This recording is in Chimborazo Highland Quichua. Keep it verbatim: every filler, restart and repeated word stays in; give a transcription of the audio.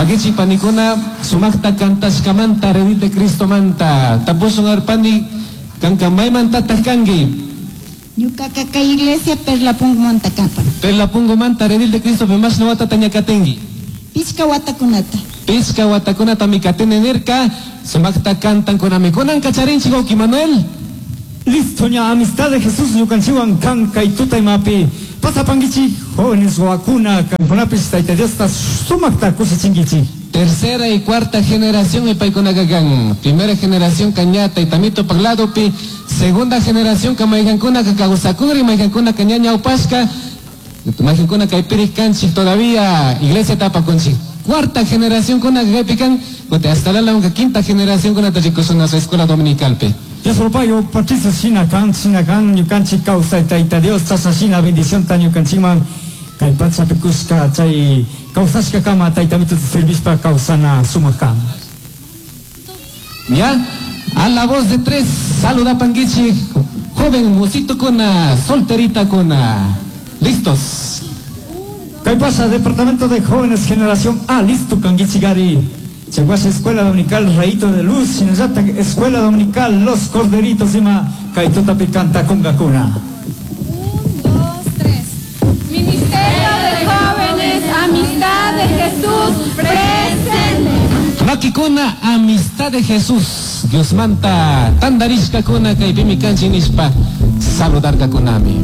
Pakichi panikuna sumakta kantashkamanta Redil de Cristo manta. Tapusun arpani kanka maymantataq kanki. Ñukaqa kay iglesia Perlapungumanta kapan. Perlapungumanta Redil de Cristo pe mashna watata ña katinki. Pichka watakunata. Pichka watakunatami katini nirka sumakta kantankunami. Kunan kacharinchik wawqi Manuel. Listo ña amistad de Jesús ñukanchiwan kan kay tutaymapi pasapankichik jóvenes wawakuna kankunapis Tayta Diosta sumakta kushichinkichik. Tercera y cuarta generación y paykunaqa kan. Primera generación kaña taytamito ladopi, segunda generación ka mayqankunaka kawsakuri, mayqankunaka ña ñawpashka, mayqankuna kaypirik kanchik todavía iglesia tapakunchik. Cuarta generación kuna kaypi kan, hasta la quinta generación kuna rikusun nuestra escuela dominicalpi. Dios payo Patricio shina kan shina kan ñukanchik kawsay Tayta Dios chashna shina bendición ta ñukanchikman kay pachapi kushka chay kawsashka kama Taytamituta servishpa kawsana sumak kan. Ya, a la voz de tres, saluda panguichi, joven musito kuna, solterita kuna. Listos. Kay pasa Departamento de Jóvenes Generación A, listo kanguichigari. Chaguasha Escuela Dominical Rayito de Luz, Shinallata Escuela Dominical Los Corderitos ima Kaitutapi canta kungakuna. Un, dos, tres. Ministerio de Jóvenes, Amistad de Jesús, presente. Makikuna, Amistad de Jesús. Dios manta, tandarishka kuna, kaypimi kanchi nishpa, saludarka kunami.